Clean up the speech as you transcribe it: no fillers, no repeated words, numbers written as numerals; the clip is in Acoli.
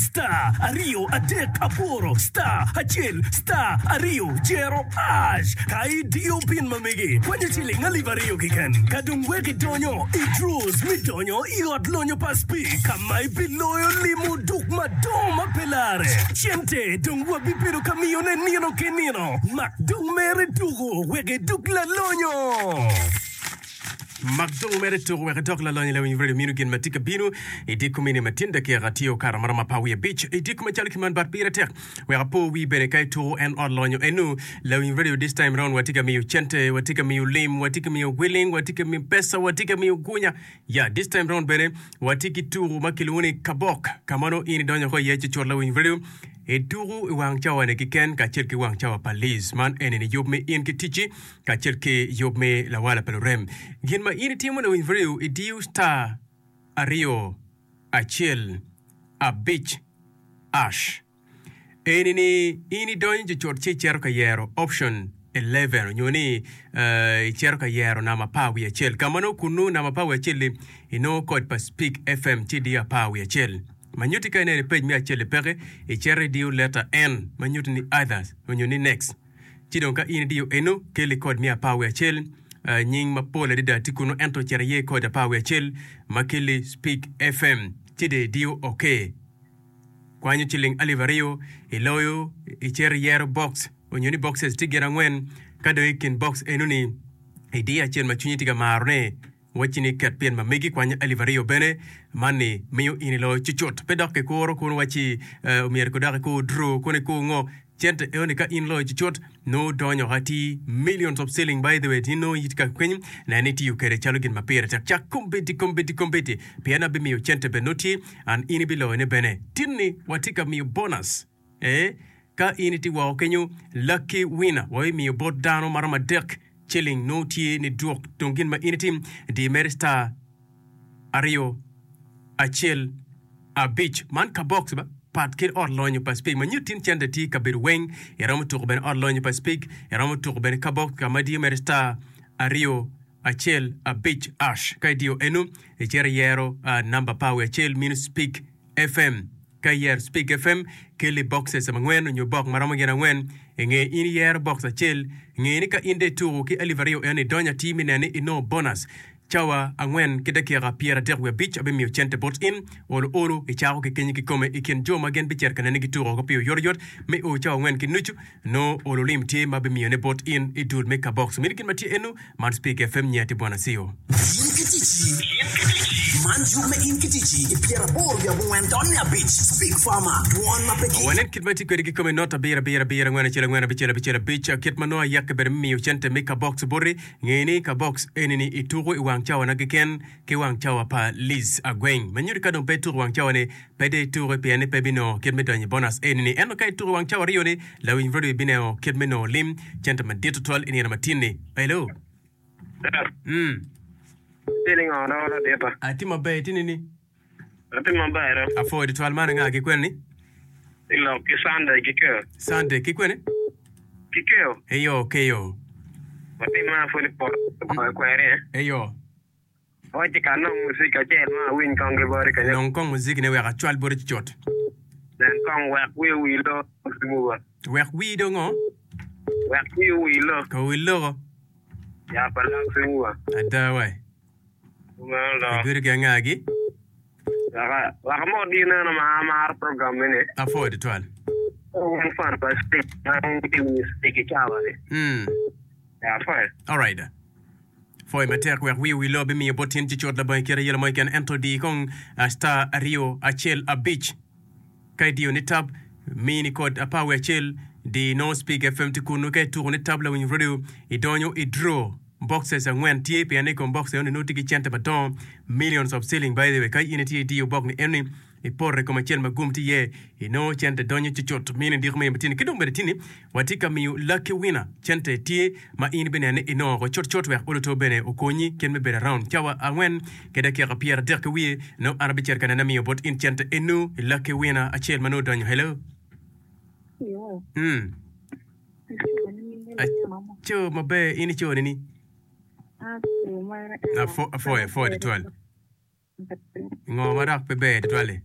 star aryo adek aboro star acel star aryo jero ash. Ka idiyo pin ma megi, kwanyo ciling alip aryo keken. Ka dong wek idonyo i draws me donyo i ot lonyo pa Speke ka ma ibiloyo limo duk madongo ma pe larre. Cente dong wabibedo ka miyone nino ki nino. Mak dong mere tuko wek iduk lalonyo! Mak dong mere tuko wek idok lalonyo lawiny radio mino gin ma tye ka bino i dye komini ma tyen dakika tye okato maromo apar wiye abic i dye kome calo ki man bat pire tek wek apo wii bene ka ituko en ot lonyo enu lawiny radio this time round watye ka miyo cente watye ka miyo lim watye ka miyo gwiling watye ka miyo pesa watye ka miyo gunya ya this time round bene watye ki tuko ma kilwongo ni kabok ka ma nongo in idonyo ko iye cucut lawiny radio ituko i wang cawa ni kiken kacel ki wang cawa pa Liz man eni ni yub me in ki ticci kacel ki yub me lawala pa lurem. Gin ma in itimo lawiny radio idiyo star aryo acel abic ash. Eni ni in idonyo cucut ci icito ka yero option 11 onyo ni icito ka yero namba apar wiye acel. Ka ma nongo kunnu namba apar wiye acel-li inongo kod pa Speak FM ci idiyo apar wiye acel. Ma nyutti ka ineno i page me acel-li peke, icito idiyo letter N ma nyutti ni others onyo ni next. Ci dong ka in idiyo eno, kelli kod me apar wiye acel. Nying mapol adada tye kunnu ento cit iye kod apar wiye acel ma kelli Speak FM. Ci dong idiyo OK. Kwanyo ciling alip aryo, iloyo, icito iyero box onyo ni boxes tye gin angwen. Ka dong i kin box eno-ni idiyo acel ma cwinyi tye ka marone, wacci ni ket pyen ma megi kwanyo alip aryo bene. Man-ni miyo in iloyo cucut. Pe dok kikuro kun wacci omyero kodok ikur draw kun ikur ngo. Cente eno ni ka in loyo cucut nongo donyo atir millions of shilling by the way in nongo itye ka kwiny neno ni itiyo kwede calo gin ma pire tek cak kombeddi kombeddi kombeddi pien abimiyo cente bene nongo tye and in ibiloyone bene tin ni watye ka miyo bonus ee ka in itye woko kenyo lucky winner wabimiyo bot dano maromo adek shilling nongo tye ni dwok dong gin ma in itim di mere star aryo, acel, abic. Man ka box ba pat ki ot lonyo pa Speke ma nyuto tin cente tye i kabedo weng. Iromo tuko bene ot lonyo pa Speke. Iromo tuko bene ka box ka ma diyo mere star aryo, acel, abic, ash. Ka idiyo eno, icito iyero namba apar wiye acel mino Speke FM. Ka iyero Speak FM, kelli boxes angwen onyo bok ma romo gin angwen. Inge in iyero box acel, nge ni ka in dong ituko ki alip aryo eno idonyo atir me neno ni inongo bonus. Cawa angwen ki dakika 35 abimiyo cente bot in. Olo olo icako ki kenyi kikome i kin jo ma gin bicito ka neni gituko oko pi oyotoyot me o cawa angwen ki nucu. Nongo olo lim tye ma abimiyone bot in i dul me kabox. Mini gin ma tye eno. Man Speak FM nyer tye bwana Cio. In ki ticci Man yub me In ki ticci i pyeraboro wiye abongwen tonne abic Speak Farmer Dwon ma pe ki. Wanen kit ma itye kwede kikome not abiro abiro abiro angwen acel angwen abicel abicel abic kit ma nongo ayeke bene me miyo cente me kabox boti. Nge ni kabox eni ni ituko i wang cawa na keken ki wang cawa pa Liz Agweng. Ma nyuto ka dong pe ituko i wang cawa ni pe dong ituki pien ni pe ibinongo kit me donyo i bonus eni ni. Ento ka ituko i wang cawa aryo ni lawiny radio ibineno kit me nongo lim cente madit tutwal i nino matin ni. Hello. Sir, Mm. itye ni ngo dong ladita? Atye maber itye nini? Atye maber do. Apwoyo tutwal man anga ki kwene ni? I lok ki Sunday ki keo. Sunday ki kwene? Ki keo. Eyo keyo. Watye ma pwod i poto kweri eh. Eyo. Wacci ka anong muzik acel ma awiny kong ki boti kenyo. Nong kong muzik ne wek acwal boti cucut. Nen kong wek wi owil do Simuba. Wek wii do ngo? Wek wi owil do. Ka owil loko. Ya pa lak Simuba. Ada wai. Kumeno do. Ibedo ki angagi? Wek wek amot di neno ma amaro program mene. Apwoyo tutwal. Wun fan pa Speak ma wutye winyo Speak i cawa ni. Mm. Ya apwoyo. Alright. Pwoyo matek wek wi owil bimiyo bot tin cucut labongo ikit ayela mo keken ento di kong star aryo acel abic ka idiyo ni tab mini kod apar wiye acel di nongo speak fm tye kunu ka ituko ni tab lawiny radio idonyo i draw boxes angwen tye pien i kom box enoni nongo tye ki cente madongo millions of shilling by the way ka in itye idiyo box ni enoni Ipoto i kom acel ma gum tye iye, inongo cente donyo cucut. Mini diko me matini ki dong bene tini watye ka miyo lucky winner cente tye ma in ibineno ni inongo oko cutcut wek oluto bene okonyi kit me bedo around cawa angwen ki dakika 30 ki wiye nongo an abicito ka nene amiyo bot in cente enu i lucky winner acel ma nongo odonyo. Hello. Mm. Aco maber in ico nini? Apwoyo, apwoyo tutwal. Ngo ma dok pe ber tutwal-li?